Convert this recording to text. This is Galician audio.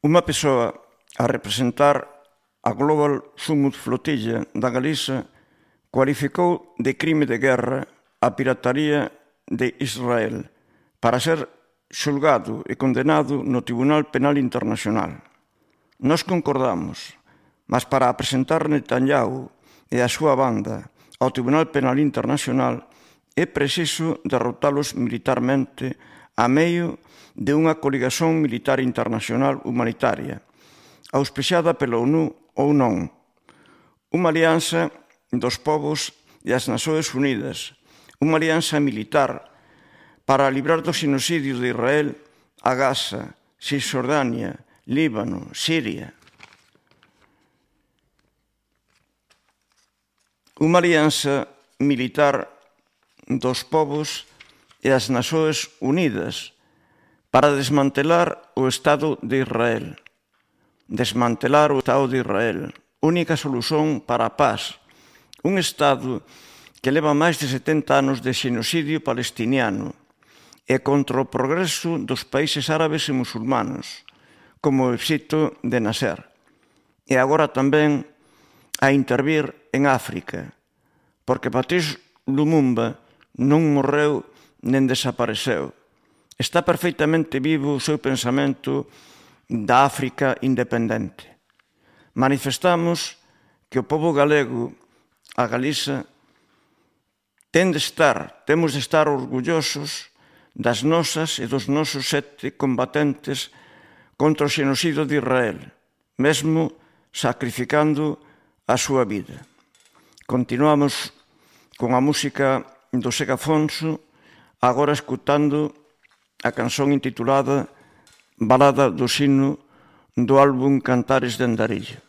Unha persoa a representar a Global Summit Flotilla da Galiza cualificou de crime de guerra a pirataría de Israel para ser xulgado e condenado no Tribunal Penal Internacional. Nós concordamos, mas para presentar Netanyahu e a súa banda ao Tribunal Penal Internacional é preciso derrotalos militarmente a medio de unha coligación militar internacional humanitaria, auspiciada pela ONU ou non, unha alianza dos povos e as Nações Unidas, unha alianza militar para librar do xenocidio de Israel a Gaza, Cisjordania, Líbano, Siria. Unha alianza militar dos povos e as Nações Unidas para desmantelar o Estado de Israel. Desmantelar o Estado de Israel, única solución para a paz. Un Estado que leva máis de 70 anos de xenocidio palestiniano e contra o progreso dos países árabes e musulmanos, como o Egipto de Nasser. E agora tamén a intervir en África, porque Patrice Lumumba non morreu nen desapareceu. Está perfeitamente vivo o seu pensamento da África independente. Manifestamos que o pobo galego, a Galiza, temos de estar orgullosos das nosas e dos nosos 7 combatentes contra o xenocidio de Israel, mesmo sacrificando a súa vida. Continuamos con a música do Sega Afonso, agora escutando a canción intitulada Balada do Sino do álbum Cantares de Andarillo.